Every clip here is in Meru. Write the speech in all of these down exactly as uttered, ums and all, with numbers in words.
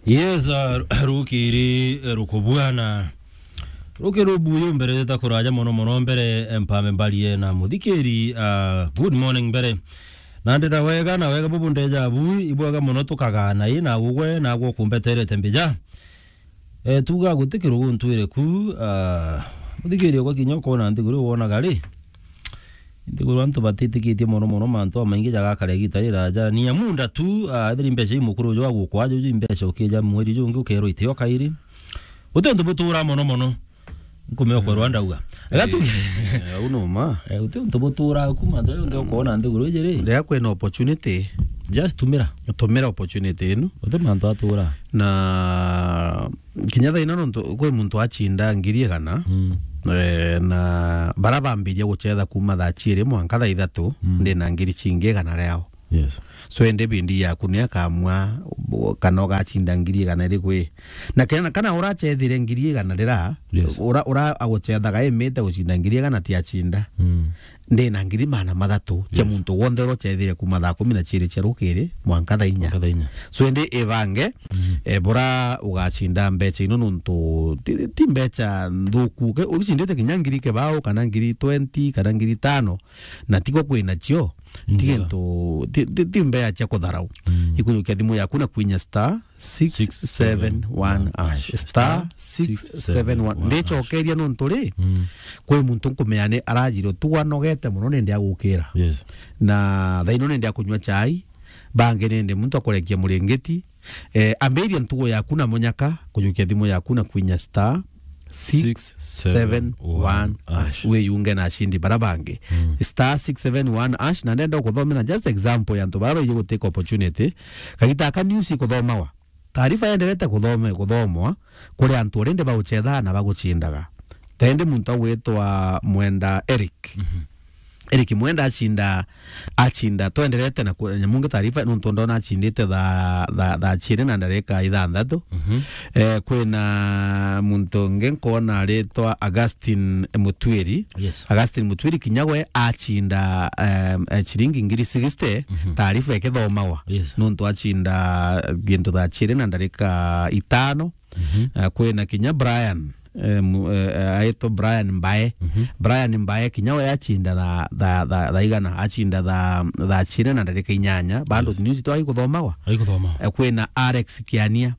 Yes, uh, rukiri, eh, rukubwana. Rukiri rubuyu mbere ta kuraja mono mono mbere, eh, mpame mbarie na muthikiri, uh, good morning mbere. Na ndira wega, na wega bubu ndeja bu, ibwega mono tukagana i na gugwe, na gwo kumbeterete mbija. Eh, tuga guti kirugu ntwire ku, uh, muthikiri okwa kinya ukona nthiguru wonaga ri? Nthiguru antu batitikitie mono mono mantu amaingi jagakara igita riraja. Ni ya munda tu, ah, ethiri mbeca i mukuru uju agukwa, juju i mbeca ukija mweri jungi ukerwa itio kairi. Guti untu butura mono mono. Nkumea ukorwa ndauga. Ega tu. Eh, eh, au no ma. Eh, guti untu butura ku mantu jonthe ukona nthiguru iji ri? Ria kwina opportunity. Just tumira. Tumira opportunity ino. Guti mantu atura. Na kinya thaina nontu kwi muntu achinda ngiri igana, mm, eh, na bara bambiria guchetha kuma thaa chiiri mwanka thaa ithatu, mm, ndina ngiri chingi igana riao. Yes. So indi bindi yaku ni akamua kana ugachinda ngiri igana iriku i. Na kena kana urachethire ngiri igana rira, yes, ura, ura aguchethaga imite guchinda ngiri igana ti achinda. Mm. Ndina ngiri maana mathatu cia, yes, muntu wonthe uria uchethire kuma thaa kumi na chiiri cia rukiri mwanka thaa inya. Mwanka thaa inya. So indi ibange, mm, eh, bura ugacinda mbeca ino nontu ti, ti mbeca nthuku. Ke-, ugicindite kinya ngiri kibao kana ngiri twenty kana ngiri tano, na tigo kwina cio, ti, njega, gintu, ti, ti, ti mbeca cia kutharau. Mm. Ikujukia thimu yaku na kwinya star six seven one hash. Star six seven one. Ndicokeria nontu ri, mm, kwi muntu nkumenya ni arajire utugu anogete mono nindi agukira. Yes. Na thaino nindi akunywa chai, bangi nindi muntu akurekia muringiti. Eh, ambiria ntugu yaku na munyaka, kujukia thimu yaku na kwinya star six seven one hash. Wiyunge na ashindi bara bangi. Mm. Star six seven one hash, na ndenda ukuthomera just example ya antu bara baiji gutake opportunity. Kagita aka news ikuthomawa. Taarifa yenderete kuthome-, kuthomwa kuri antu urindi bauchethaa na baguchindaga. Tendi muntu agwitwa Mwenda Eric. Mhm. Eric Mwenda achinda, achinda, twenderete na ku-, nyamu ngi taarifa, nontu ndona achindite thaa, thaa, thaa chiiri na ndarika ithanthatu. Mhm. Eh, kwina muntu ungi nkwona aritwa Augustine Mutwiri. Yes. Augustine Mutwiri kinya we achinda, em, eh, chiringi ngiri sixty, mhm, taarifa ikithomawa. Yes. Nontu achinda gintu thaa chiiri na ndarika itano. Mhm. Eh, kwina kinya Brian, eh, mu-, eh, eh, aitwa Brian Mbae. Mhm. Brian Mbae kinya we achinda tha-, tha-, tha-, thaa igana, achinda tha-, thaa chiiri na ndarika inyanya. Bado, yes, news twari kuthomagwa. Ari kuthoma. Eh, kwina Alex Kiania.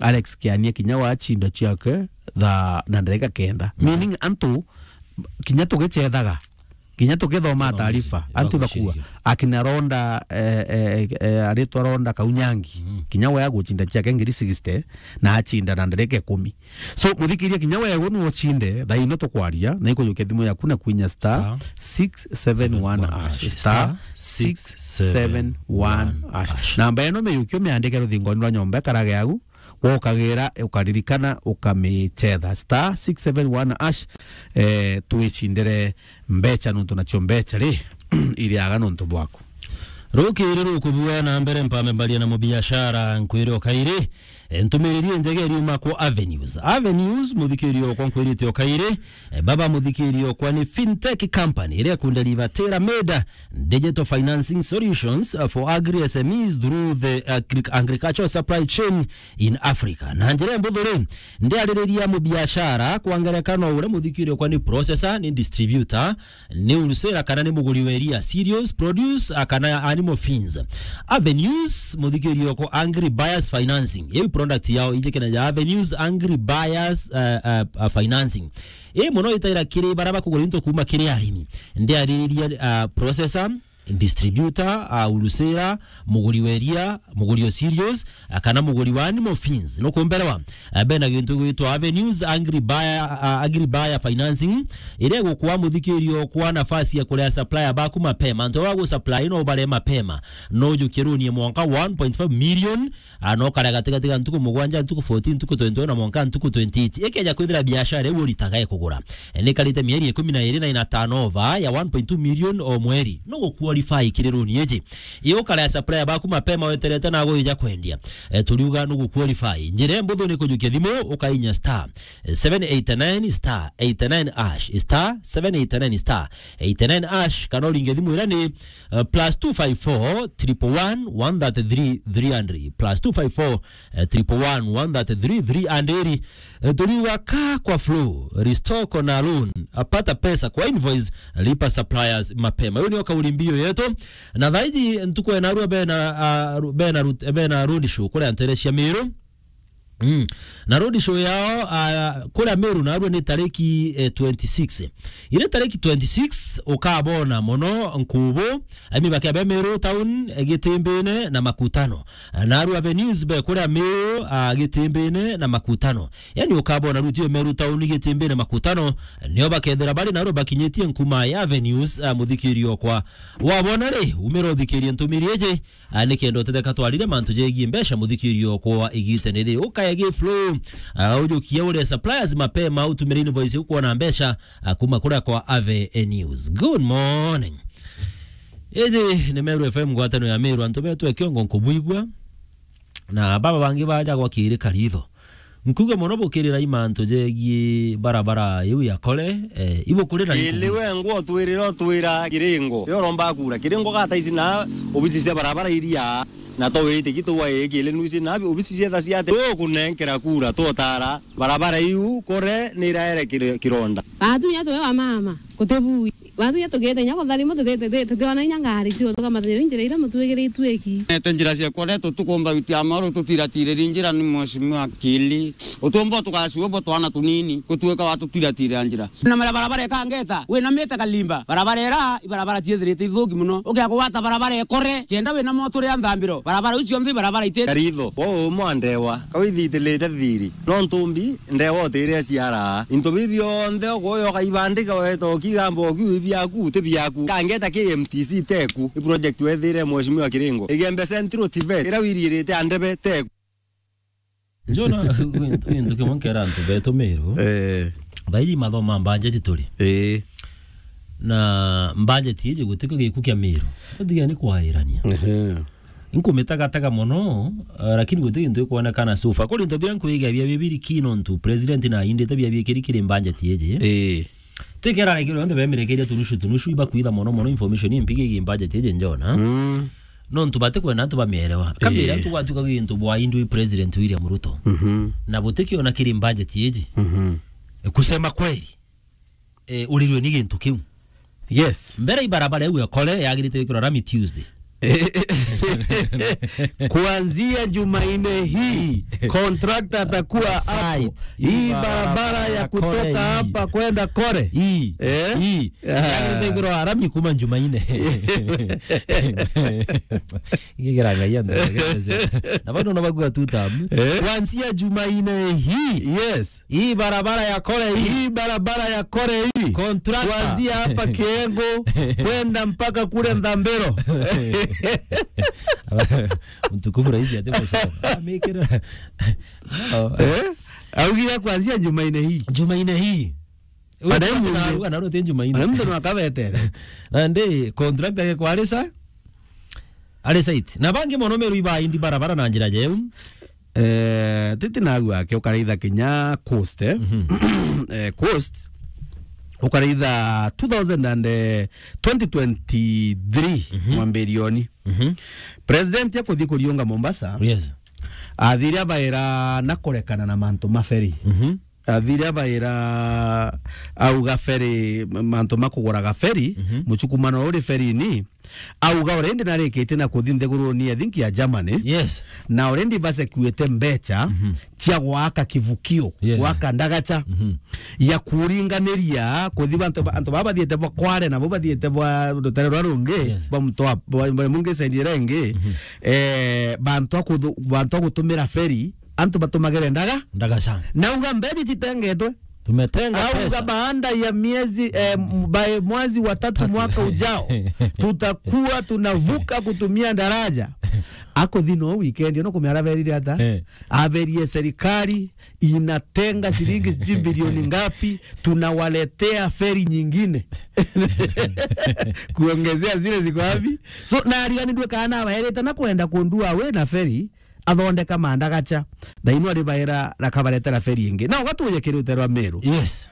Alex Kiania kinya we achinda ciake thaa na ndarika kenda. Mhm. Meaning antu kinya tugichethaga, kinya tukithoma taarifa, antu bakua, akina Ronda, eh, eh, eh, aritwa Ronda Kaunyangi, mm, kinya we aguchinda ciake ngiri sixty, na achinda na ndarika ikumi. So, muthikiria, kinya we we nuuchinde, thaa ino tukwaria, na ikujukia thimu yaku na kwinya star six seven one hash, star six seven one hash. Namba ino miyukio miandike ruthingoni rwa nyomba ikarage au, wokagira, ukaririkana, ukamichetha. Star six seven one hash, eh, twicindire mbecha nontu nacio mbecha ri, iriaga nontu bwaku. Rukiri rukubua na mbere mpame mbaria na mubiashara nkwire o kairi. Eh, ntumiriri njega iriuma kwa Avenues. Avenues, muthikiri okwa nkwirite o kairi. Eh, baba muthikiri okwa ni fintech company iria ikundeliva tailor made digital financing solutions, uh, for agri S M Es through the agri-, agricultural supply chain in Africa. Na njira mbuthu ri, ndiaririria mubiashara kwa ngerekano uria muthikiri okwa ni processor, ni distributor, ni wholesale kana ni muguri wa iria, cereals, produce, a, kana animal feeds. Avenues, muthikiri okwa Agri Buyers Financing. Iu product yao ijikena ya Avenues Agri Buyers, uh, uh, uh, Financing. Ii mono itaira kiri bara bakugura into kuma kiri arimi. Ndiaririria, uh, processor, distributor, uh, wholesale, muguri wa iria, muguri o cereals, uh, kana muguri wa animal feeds. Nukumberewa, uh, bena gintu gwitwa Avenues Agri Buyer, uh, Agri Buyer Financing, iria igukwa muthikiri okwa nafasi ya kurea supplier baku mapema. Antu ba gusupply no ubare mapema. No ujukie loan ya mwanka one point five million, a, no kare gatigati ga ntuku mugwanja, ntuku fourteen, ntuku twenty-one na mwanka ntuku twenty-eight. Ikeja kwithira biashara iu uritaga ikugura, e, ni karite mieri ikumi na iri na ina turnover ya one point two million o mweri, no gukua qualify kiri runi iji. Ii ukarea supplier baku mapema weterete na gwija kwendia. Eh, turiuga nugu qualify. Njira imbuthu ni kujukia thimu, ukainya star, eh, seven eight nine star eight nine hash, star seven eight nine star eight nine hash, kana uringe thimu iria ni, eh, plus two five four, triple one, one thirty-three, three hundred, plus two five four, eh, triple one, one thirty-three, three hundred. Eh, turiuga ka kwa flow, restore kona loan, apata pesa kwa invoice, lipa suppliers mapema. Hiyo niyo kauli mbiu yetu. Na thaiji ntuku ya narua bena, ah, ru-, bena rut-, bena road show kuria ntere cia Meru. Mm. Na road show yao, ah, kuria Meru narua ni tariki, eh, twenty-six. Iri tariki twenty-six ukabona mono nkubu, ami bakia be Meru town, eh, Gitimbine na Makutano. Narua Avenues be kuria Meru, ah, Gitimbine na Makutano. Yani ukabona ruti yo Meru town, Gitimbine, Makutano, nio bakethira bari narua bakinyitie nkuma ya Avenues, ah, muthikiri okwa. Wabona ri, umira uthikirie ntumiri iji, ah, nikenda utetheka twarire mantu jegie mbeca muthikiri okwa igitene ri. Ukaya gi flow, ah, ujukie ure suppliers mapema, utumire invoice ukuona mbeca, ah, kuma kuria kwa Avenues. Good morning. Iji ni Meru F M, ngwatano ya Meru, antu betu e kiongo nkubuigua. Na baba bangi baja gwa kiri karitho. Nkuge mono bukirira imantu jegie barabara iu ya Kore, eh, ibukuri na Kiri we ngwo twirira utwira kiringo. Rio romba kura. Kiringo gata ici na obisi cia barabara iria na to witi gitu wa ikili nusi na obisi cia tha cia te. Tukunenkera kura tutara barabara iu Kore ni iraere kiri-, kironda. Batu nya tuwe wa mama, kutibui. Batu nya tugite nya kutharimo tuti-, tuti-, tutiona inya ngari cio tukamata njira iria mutwigiritue iki. Nete njira cia Kore tutukumba witi ya maru tutiratiriri njira ni mheshimiwa Kili. Utumbo tukacua bo twana tunini, kutuika watutiratirira njira. Na mara barabara ikangeta, wina mita kalimba. Barabara ira, ibarabara ciethirite ithuki muno. Ukia kugwata barabara ikore, kenda wina moto ria nthambiro. Barabara iu cionthe ibarabara ite. Karitho, wo umwe andewa, kawithitilite thiri. No ntumbi, ndewa utire ciara. Into bibi bionthe ukuyo kaibandika weta ukigamba ukiu biaku, ti biaku. Kangeta K M T C teku. I project wethire mheshimiwa Kiringo. Igembe Central Tivet, ira wiririte andebe teku. Njona, gintu, gintu kimwe nkera antu betu Meru. Eh. Baiji mathoma budget turi. Eh. Na budget iji gutikio giku kia Meru. Utigia ni kwairania. Ehe. Inkumitagataga mono, eh, lakini guti gintu ikwonekana so far. Kuri into biria nkwigia bia bibiri kino ntu president na indite bia bikiri kiri budget iji. Eh. Tikera reke rionthe bemirekeria tunushu tunushu ibakwitha mono mono information impigi igi budget iji njona. Mm. No ntu batikwenda antu bamierewa. Kamira eh, antu gwatuka gintu bwa indwi president William Ruto. Mhm. Na butikiona kiri budget iji. Mhm. Kusema kweli, eh, urirwe ni gintu kiu. Yes. Mbere ibarabara iu ekore yagirite gwikirwa rami Tuesday. Kuanzia Jumanne hii, contractor atakuwa hapo. Site. Hii barabara ya kutoka hapa kwenda Kore. Hii. Eh? Hii. Ah. Yagirite gwikirwa rami kuma Jumanne. Igigera ngai antu. Na bado no bagua tu tam. Eh? Kuanzia Jumanne hii. Yes. Hii barabara ya Kore hii. Hii barabara ya Kore hii. Contractor. Kuanzia hapa Kiengo kwenda mpaka kule Ndambero. Mtukufu rais ati musoro. Amikira. Eh? Augire kuanzia Jumanne hii. Jumanne hii. Ana muntu. Ana muntu no akabetere. Na ndi contractor ke kwa Alisa. Alisa it. Na bangi mono Meru iba indi barabara na njira jeu. Eh, titi nagu ake ukaraitha kinya coast, eh? Mhm. Eh, coast, ukaraitha two thousand and, eh, twenty twenty-three, mhm, mwambirioni. Mhm. President akuthi kuriunga Mombasa. Yes. Athire abaira na kurekana na mantu ma ferry. Mhm. Athire abaira auga ferry, mantu ma kuguraga ferry, mhm, muchukumano uri ferry-ini, auga already narikitie na kuthi nthiguruni, I think, ya Germany. Yes. Na already basekuite mbecha, mhm, cia gwaka kivukio, yes, gwaka ndagacha, mhm, ya kuringaniria kuthi bantu ba-, antu baba bathiete bwa Kware na bo bathiete bwa rutere rwa rungi, yes, bwa mutwa, bwa, bwa mungi side ira ingi, mhm, eh, bantu a kuthu-, bantu a gutumira ferry, antu batumagire ndaga. Ndagacha. Nauga mbecha citengetwe. Tumetenga pesa. Au baada ya miezi, eh, m-, by mwezi wa tatu mwaka ujao, tutakuwa tunavuka kutumia daraja. Akuthi no weekend, no kumia araberire ata? Eh. Aberie serikali inatenga shilingi sijui bilioni ngapi, tunawaletea feri nyingine. Kuongezea zile ziko wapi? So, na ariganirwe kana abaerete na kwenda kundua we na feri, athondeka mandagacha. Thaino ari baera rakabaretera feri ingi. Na ugatuje kiri rutere rwa Meru. Yes.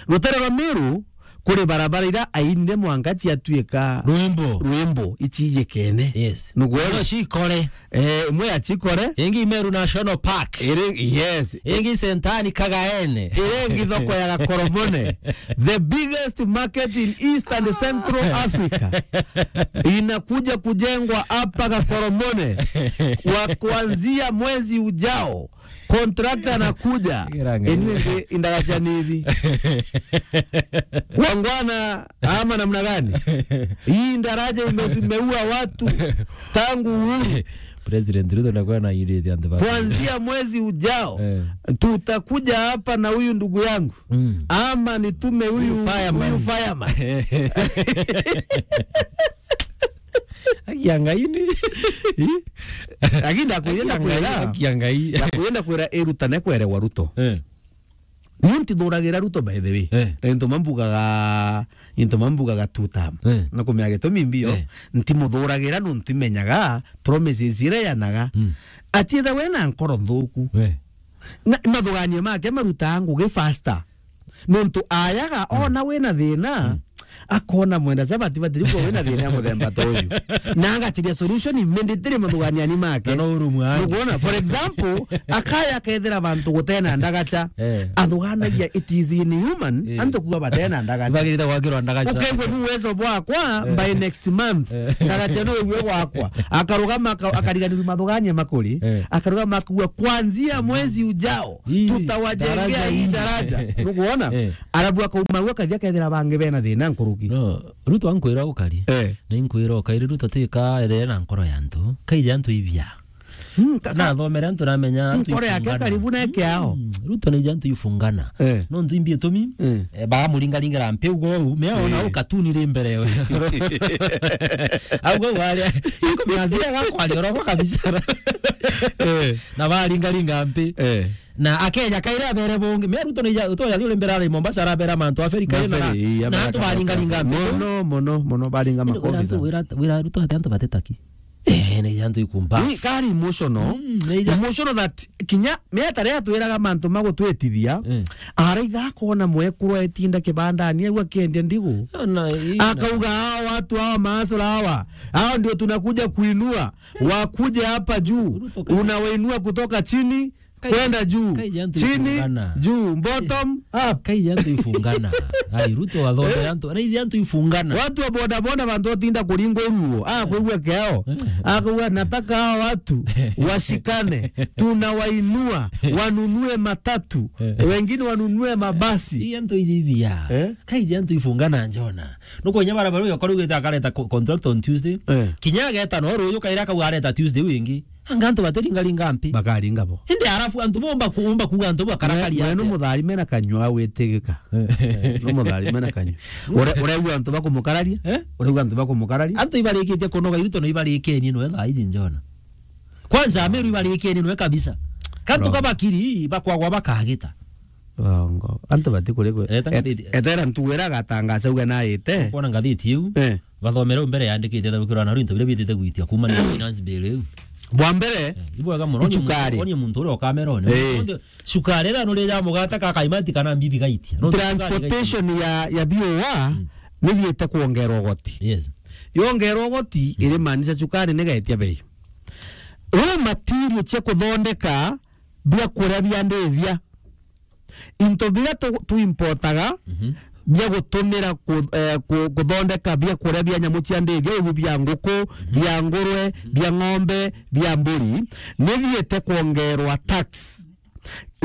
Rutere rwa Meru, kuri barabara ira ainire mwanka ciatuika rwimbo. Rwimbo, iciyikene. Yes. Nukwona? Imwe cikore. Eh, imwe ya cikore. Ingi Meru National Park. Iri, yes. Ingi Sentani Kagaene. Iri ingi thoko ya Gakoromone. The biggest market in East and Central Africa inakuja kujengwa hapa Gakoromone kwa kuanzia mwezi ujao. Contractor anakuja. Irangai. Anyway, indagacha nithi. Wangwana ama namna gani? Hii daraja ime-, imeua watu tangu uhuru. President Ruto anakuwa na ile ya the kuanzia mwezi ujao, eh, tutakuja hapa na huyu ndugu yangu. Mm. Ama nitume huyu, huyu fireman. Huyu fireman. Akia Ngai ni. Lakini ndakwenda kwira. Akia Ngai. Ndakwenda kwira irutane kwerewa Ruto. Eh. Ni ntithuragira Ruto, by the way. Eh. Na into mambugaga, into mambugaga two term. Eh. Na kumenya gitumi mbio, eh, ntimuthuragira nontu imenyaga promises iria yanaga. Mm. Atietha we na nkoro nthuku. Eh. Na mathuganio make marutaa ngugi faster. Nontu ayaga, mm, ona wina thina, mm, akona mwenda chabati batiri kwa wina thina ya muthemba ta uyu. Na agachiria solution immediately mathuganiani make. Na no urumwa. Nukwona, for example, akaya akethira bantu gutena ndagacha. Eh. Athuganagia it is inhuman, eh, antu kuwa batena ndagacha. Bagirite gwakirwa ndagacha. Ukaigua ni uwezo bwakwa, eh, by next month. Eh. Ndagacha no iwe gwakwa. Akarugama aka-, akariganirwa mathugania makuri. Eh. Akarugama akuwa kuanzia mwezi ujao. Hii tutawajengea daraja hii hii. Daraja. Nukwona? Eh. Arabu akauma gwa kathia kethira bangi bena thina nkuruki. No, Ruto ankwira ukari. Eh. Na inkwira ukari Ruto tika ethire na nkoro ya antu. Kaija antu ibia. Hmm, kaka. Na thomere antu ramenya antu nkoro yake ifungana. Karibu na yake ao. Hmm, Ruto ni antu ifungana. Eh. No ntu imbi itumi. Eh. Eh, bagamuringaringera mpi ugo u, me ona, eh, u katuni ri mbere we. Au go wale. Iko mia thia ga kwali oroko kabisa. Eh. Na baringaringa mpi. Eh. Na akeja kaira abere bongi. Me Ruto ni ja, utoya ri uri mbere ari Mombasa arabera mantu a feri kaira na, na antu baringaringa mpi. Mono, mono, mono baringa makofi sana. Wira, wira Ruto ati antu batetaki. Eh, ni antu ikumba. Ni kari emotional. Mm, ni ja- emotional that kinya me atare atwiraga mantu magutwitithia. Eh. Araitha akona mwekuru etinda kibandani, au akiendia ndigu. Ona, ii, akauga, "Hawa watu hawa maasura hawa, hao ndio tunakuja kuinua, wakuje hapa juu." Ruto kaija. Unawainua kutoka chini, kai-, kwenda juu. Kaija antu chini, ifungana. Juu, bottom up. Kaija antu ifungana. Ai, Ruto wathomere antu, na iji antu ifungana. Watu wa bodaboda bantu otinda kuringwa iruo. Ah, kwigua keo. Eh. Akauga, "Nataka hawa watu washikane, tunawainua, wanunue matatu, eh, wengine wanunue mabasi." Ii antu iji ibia. Eh? Kaiji antu ifungana njona. Nukonya barabara uyo akarugite akareta co-, contract on Tuesday. Eh. Kinya ageta no ruyu kaira akauga areta Tuesday wingi. Anga antu batiringaringa mpi. Bakaringa bo. Indi arafu antu bomba kuumba kuga antu bakarakaria. We, we no atia? Mutharime na kanyua witigika. Eh. Eh, no mutharime na kanyua. Ure-, uregua antu bakumukararia? Eh? Uregua antu bakumukararia? Antu ibarikitie kunoga Ruto no ibarikenie no thaa iji njona. Kwanza Ameru ibarikenie no kabisa. Kantu kabakiri bakwagwa bakagita. Wrong. Antu bati kuri kwe. Eta et-, ngathiti. Etera ntugu ira agatangaca uga naite. Kuona ngathiti iu. Eh. Bathomere u mbere yandikite tharukiro na rinto biria bitite gwitia kuma ni finance bill iu. Bwa mbere, eh, ibwega muno, ni icukari. Muntu, ni muntu uria ukamerone. Eh. Muntu, cukari ira nuri ja mugate ka kaimati kana mbibi gaitia. No transportation ya, ya B O A, mm, ni thiete kuongerwa ugoti. Yes. Yongerwa ugoti, mm, iri maanisha cukari ni gaitia bei. Raw material cia kuthondeka biakuria bia ndithia. Into biria tu-, tuimportaga, mhm, bia gutumira ku-, eh, ku-, kuthondeka biakuria bia nyamu cia ndithia, ugu bia nguku, mhm, bia ngurwe, mhm, bia ng'ombe, bia mburi, ni thiete kuongerwa tax.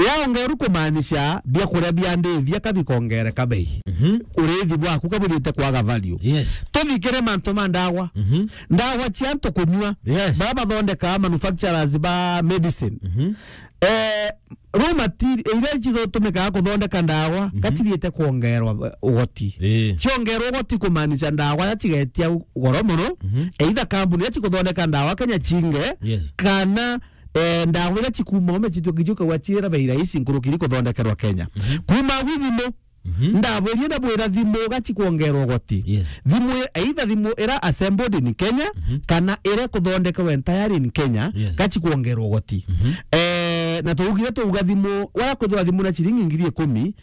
Yaongeru kumaanisha biakuria bia ndithia ka bikongereka bei. Mhm. Urithi bwaku ka buthiite kwaga value. Yes. Tuthikire mantu ma ndawa. Mhm. Ndawa cia antu kunyua. Yes. Bara bathondeka manufacturers ba medicine. Mhm. Eh, raw material iria cithutumikaga kuthondeka ndawa, mhm, gacithiite kuongerwa, eh, ugoti. Ii. Ciongerwa ugoti kumaanisha ndawa iria cigetia goro mono, mhm, either kambuni iria cikuthondeka ndawa Kenya cinge, yes, kana, eh, ndawa iria cikuuma ume cituike ciukawa ciira bei rahisi nkuruki iri kuthondekerwa Kenya. Mhm. Kuuma gwi thimu, mhm, ndabwirie ndabwira thimu gaci kuongerwa ugoti. Yes. Thimu i-, either thimu ira assembled in Kenya, mhm, kana ira kuthondekerwa entire in Kenya, yes, gaci kuongerwa ugoti. Mhm. Eh, na tuugire tuuga thimu, waya kwithirwa thimu na ciringi ngiri ikumi, yes,